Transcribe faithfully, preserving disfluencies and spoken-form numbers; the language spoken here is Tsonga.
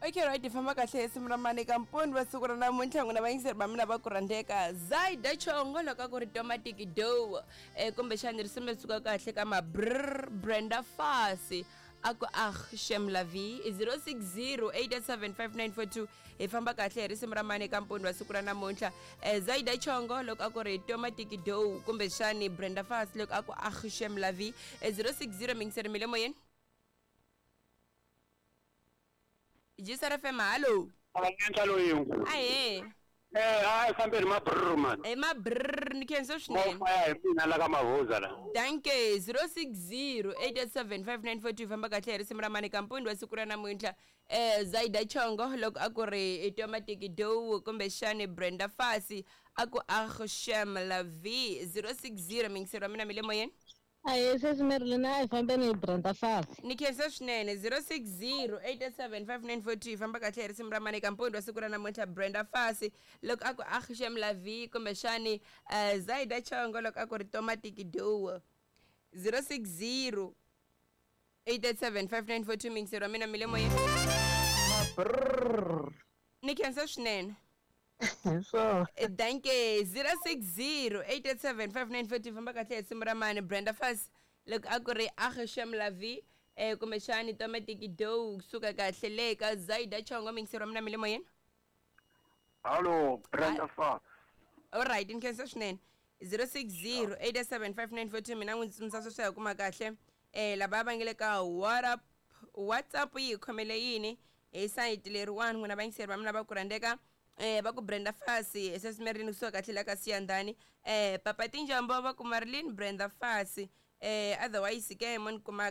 Okay, right, hi famba kahle hi simu ra mani ka mpuni va siku ra namuntlha. N'wina vayingiseri va mina va ku rhandzeka, Zaida Chongo loko a ku ri Tomatic Do, um kumbexani risimu leri suka kahle ka mabrr Brenda Fasi a ku "Ah shem la vie". zero six zero eight seven five nine four two, hi famba kahle hi risimu ra mani ka mpuni wa siku ra namuntlha. um Zaida Chongo loko a ku ri Tomatic Do, kumbexani Brenda Fasi loko a ku "Ah shem la vie". zero six zero, mingiseri mi le moyeni, Jisar F M, hallo. Anentlha loyi. Ahee. Eh, a hi fambeni mabrr man. Hi mabrr, ni khensa swinene. Mofaya hi mina la ka Mavuza la. Danke. zero six zero eight seven five nine four two, famba kahle hi risimu ra mani kampuni wa siku ra namuntlha. um Zaida Chongo loko a ku ri Tomatic Do, kumbexani Brenda Fasi a ku "Ah shem la vie". zero six zero, mingiseri wa mina mi le moyeni. Ahee sesi Marilyn, a hi fambeni hi Brenda Fasi. Ni khensa swinene. zero six zero eight seven five nine four two, famba kahle hi risimu ra mani kampuni wa siku ra namuntlha. Brenda Fasi loko a ku "Ah shem la vie", kumbexani uh, Zaida Chongo loko a ku ri Tomatic Do. zero six zero eight seven five nine four two, mingiseri wa mina mi le moyeni. Brrr. Ni khensa swinene. Hi swona. Danke. zero six zero eight seven five nine four two, famba kahle hi risimu ra mani. Brenda Fasi loko a ku ri "Ah shem la vie", eh kumbexani Tomatic Do kusuka kahle le ka Zaida Chongo. Mingiseri wa mina mi le moyeni. Hallo, Brenda Fa. Alright, ni khensa swinene. zero six zero eight seven five nine four two, mina n'wi tsundzuxa sweswi hi kuma kahle eh lava va nge le ka WhatsApp. WhatsApp yi hi khomele yini hi sayiti leriwani? N'wina vayingiseri va mina va ku rhandzeka, eh va ku Brenda Fasi sesimerini kusuka kahle la ka Siyandhani. eh papa Tinjambo va ku Marilyn, Brenda Fasi. eh otherwise ke mo ni kuma.